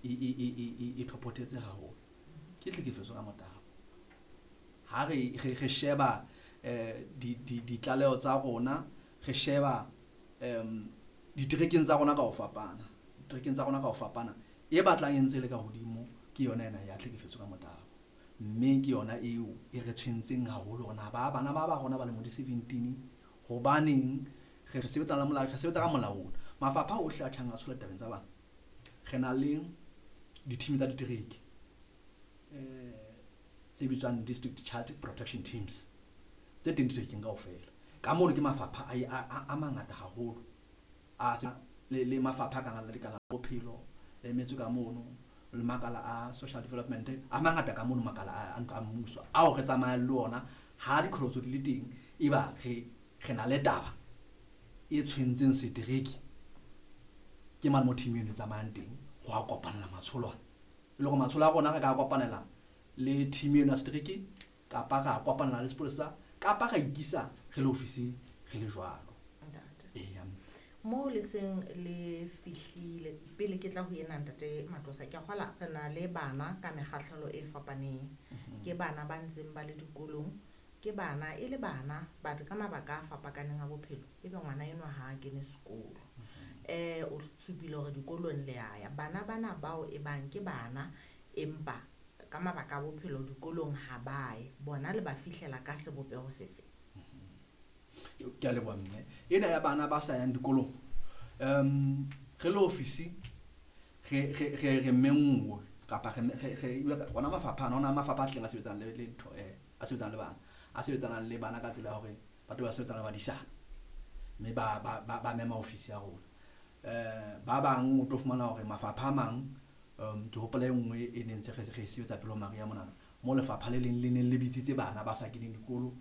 e thopothetse haholo ke tlhekefetso ka motabo. Ha re sheba ditlaleho tsa rona, re sheba diterekeng tsa rona ka ho fapana, diterekeng tsa rona ka ho fapana, e batlang e ntse le ka hodimo ke yona ena ya tlhekefetso ka motabo. Mme ke yona eo e re tshwentseng haholo hore na ba bana ba rona ba lemo di 17 hobaneng re sebetsa le molao, re sebetsa ka molao ona. Mafapha ohle a tjhang a tshola tabeng tsa bana. Re na le di-team tsa ditereke tse bitswang district child protection teams tse teng diterekeng kaofela. Ka mono ke mafapha a mangata haholo a le mafapha a kang a lekala la bophelo le emetswe ka mono, le makala a social development a mangata ka mono, makala a ntlo a mmuso ao re tsamayang le ona. Ha diqholotso di le teng, eba re na le taba e tshwentseng setereke, ke mane mo team eno e tsamayang teng ho a kopanela matsholo ana. E le hore matsholo a rona re ka kopanela le team eno ya setereke, kapa ra kopanela le sepolesa, kapa ra ikisa re le ofisi re le jwalo. Eya. Mo le seng le fihlile pele ke tla ho ena ntate Matlosa, ke a kgola re na le bana ka mekgahlelo e fapaneng. Ke bana ba ntseng ba le dikolong, ke bana e le bana but ka mabaka a fapakaneng a bophelo ebe ngwana enwa ha a kene sekolo. O supile hore dikolong le a ya. Bana bana bao e bang ke bana empa ka mabaka a bophelo dikolong ha ba ye, bona le ba fihlela ka sebopeho sefe? Ke a leboha mme. Ena ya bana ba sa yang dikolong, re le ofisi re menngwe kapa re ona mafapha ana, ona mafapha a tlileng a sebetsang le ntho, a sebetsang le bana, a sebetsanang le bana ka tsela ya hore batho ba sebetsang le badisana, mme ba mema ofisi ya rona. Ba bang o tlo fumana hore mafapha a mang, ke hopola e nngwe e neng ntse re sebetsa pele ho mariha monana, mo lefapha le leng le neng le bitsitse bana ba sa keneng dikolo,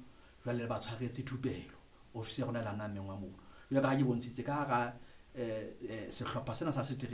jwale le ba tshwaretse thupelo. Ofisi ya rona e la nna mengwa mono. Jwale ka ha ke bontshitse ka hara sehlopha sena sa setereke.